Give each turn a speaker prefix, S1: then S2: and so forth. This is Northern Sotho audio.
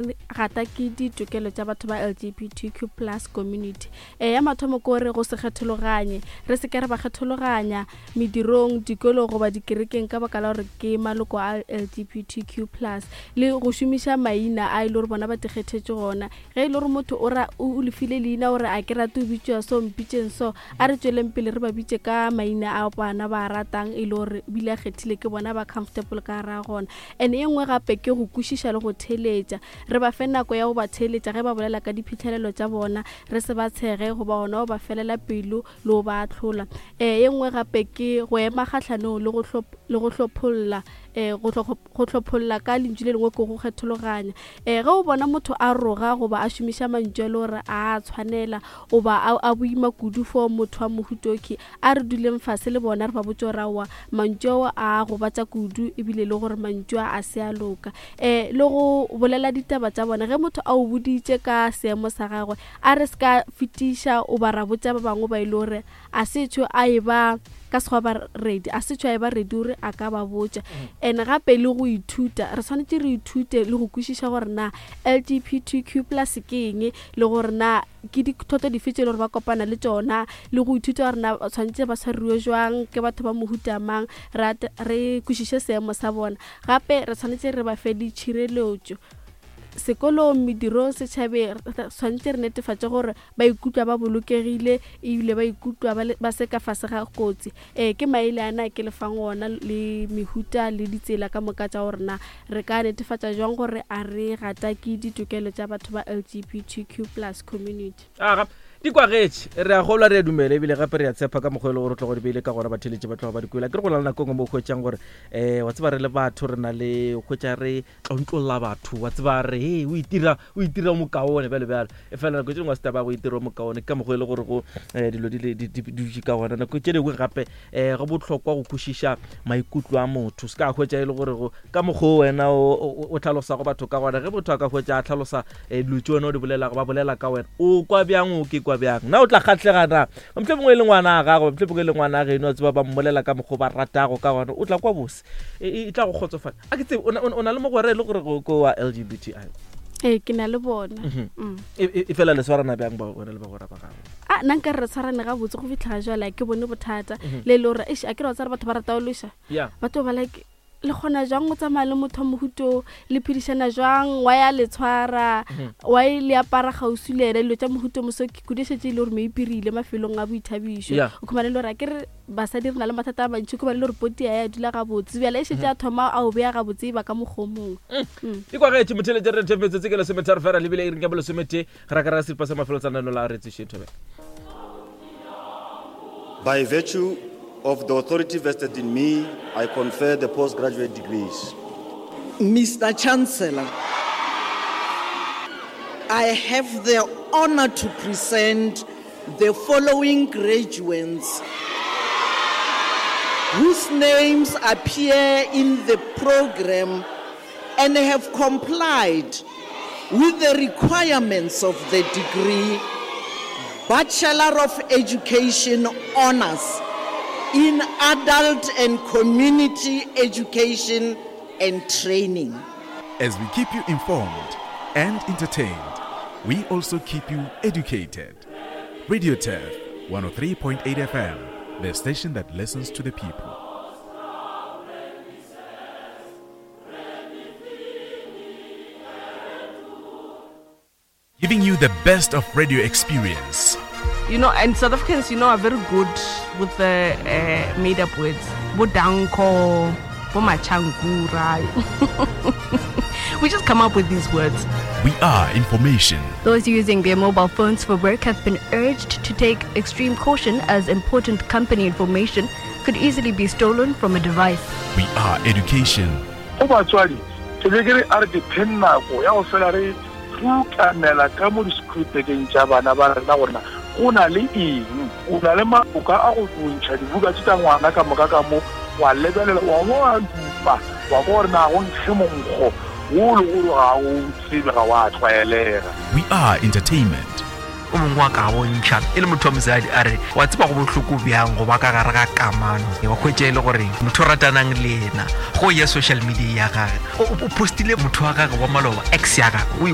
S1: Gata ke ditokelo tša batho ba LGBTQ plus community. E, ya mathomo ke gore go se kgethologanye. Re se ke re ba kgethologanya medirong, dikolong goba dikerekeng ka baka la gore ke maloko a LGBTQ plus. Le go šomiša maina a e le gore bona ba tikgethetše gona. Ge e le gore motho o ra o lefile leina gore a ke rate o bitšwa so mpitšeng so, a re tšweleng pele re ba bitše ka maina a bana ba ratang e le gore bile a kgethile ke bona ba comfortable ka ra gona. And e nngwe gape ke go kwešiša le go theeletša. Re ba fe nako ya go ba theeletša ge ba bolela ka diphihlelelo tša bona, re se ba tshege goba gona go ba felela pelo le go ba ahlola. E nngwe gape ke go ema kgahlanong le go le go hlopholla, go go hlopholla ka lentšu le lengwe ke go kgethologanya. Ge o bona motho a roga goba a šomiša mantšu a le gore a a tshwanela goba a, a boima kudu for motho wa mohuta okhwi, A re duleng fase le bona re ba botše gore aowa, mantšu ao a gobatša kudu ebile le gore mantšu a a se a loka. Um le go bolela ditaba tša bona, ge motho a o boditše ka seemo sa gagwe, a re se ka fetiša o ba ra botša ba bangwe ba e le gore a se tšho a e ba ka sekgwa ba ready, a se tšho a e ba ready gore a ka ba botša. And gape le go ithuta, re swanetše re ithute le go kwešiša gore na LGBTQ plus ke eng le gore na ke dithoto dife tše e le gore ba kopana le tšona le go ithuta gore na tshwanetse ba tshwariwe jwang ke batho ba mohuta mang re kwešiše seemo sa bona gape re tshwanetse re ba fe le tšhireletšo sekolong medirong setšhabeng tshwanetse re netefatše gore ba ikutlwa ba bolokegile ebile ba ikutlwa ba se ka fase ga kotsi ee ke maele ana ke lefang ona le mehuta le ditsela ka moka tša gore na Re ka netefatša jwang gore a re gatake ditokelo tša batho ba LGBTQ plus community?
S2: Aga, di kwagetše. Re a kgolwa, re a dumela, ebile gape re a tshepa ka mokgwa e le gore o tlogo di beile ka gona, batheeletši ba tloga ba di kwele. Akere go na le nako e nngwe mo o hwetšang gore, um wa tseba re le batho re na le go hwetša re tlontlolla batho, wa tseba re, hei, o itira, o itira o mokaone, bjalo bjalo. E fela nako tše dingwe ga se taba ya go itira o mokaone, ke ka mokgwa e le gore go um dilo di le di di dutše ka gona. Nako tše dingwe gape um go bohlokwa go kwešiša maikutlo a motho se ka hwetša e le gore go ka mokgwa o wena o hlalosago batho ka gona ge motho a ka hwetša a hlalosa eh, dilo tše wena o di bolelago ba bolela ka wena o kwa bjang o ke kwa bjang na o tla kgatlhega na mohlomongwe mongwe e le ngwana a gago mohlomongwe e le ngwana a geno a tseba ba mmolela ka mokgwa o ba ratago ka gona o tla kwa bose e, e, e tla go kgotsofatsa a ke tsebe o na le mogwera e le gore ko wa lgbti
S1: ee ke na le bona mhm.
S2: mm. e, e, e fela le swarana bjang ba wena le bagwera ba gago
S1: a nna nka re re tshwarane gabotse go fitlha ga jale ke bone bothata mhm. le e le gore eish a ke re wa tsare batho ba rata go lweša batho ba like le kgona jwang go tsamaya le motho wa mohuto le phedišana jwang wa ya le tshwara mhm. wa e le apara kgauswi le ena dilo tša mohuto moso ke kudu šetse e le gore meipirile mafelong a boithabišo o khumane le gore a ke re basadi re na le mathata a mantši khumane le gore poti ya ya dula gabotse bjale e šetse a mhm. thoma a o beya gabotse e ba ka mokgomong
S2: mm. e kwagetše motheletše re themetsotse ke lesometharo fela lebile e reng ya bolesomete Ra ka ra seripa sa mafelo tsa lenaneo la Re Tsošeng Thobela.
S3: By virtue of the authority vested in me, I confer the postgraduate degrees.
S4: Mister Chancellor, I have the honor to present the following graduates whose names appear in the program and have complied with the requirements of the degree Bachelor of Education Honors in Adult and Community Education and Training.
S5: As we keep you informed and entertained, we also keep you educated. Radio Turf 103.8 FM, the station that listens to the people. Giving you the best of radio experience.
S6: You know, and South Africans, you know, are very good with the uh, made up words. Bodanko, Bomachankura. we just come up with these words.
S5: We are information.
S7: Those using their mobile phones for work have been urged to take extreme caution as important company information could easily be stolen from a device.
S5: We are education.
S8: Go batswadi, ke be ke re a re dipheng nako ya go fela re rutamela ka mo disekhurupekeng tša bana ba rena gore na go na le eng. O na le maloka a go ntšha dibuka tše tša ngwana ka moka ka mo, wa lebelela, wa bo wa dupa, wa kwa gore na go nkge monkgo wo le gore ga o tsebe, ga wa tlwaelega.
S5: We are entertainment.
S9: O mongwe wa ka bontšha e le motho wa mosadi a re wa tseba go bohloko bjang go ba ka gare ga kamano wa hwetša e le gore motho o ratanang le yena go ya social media ya gage o postile motho wa gage wa maloba ex ya gage o.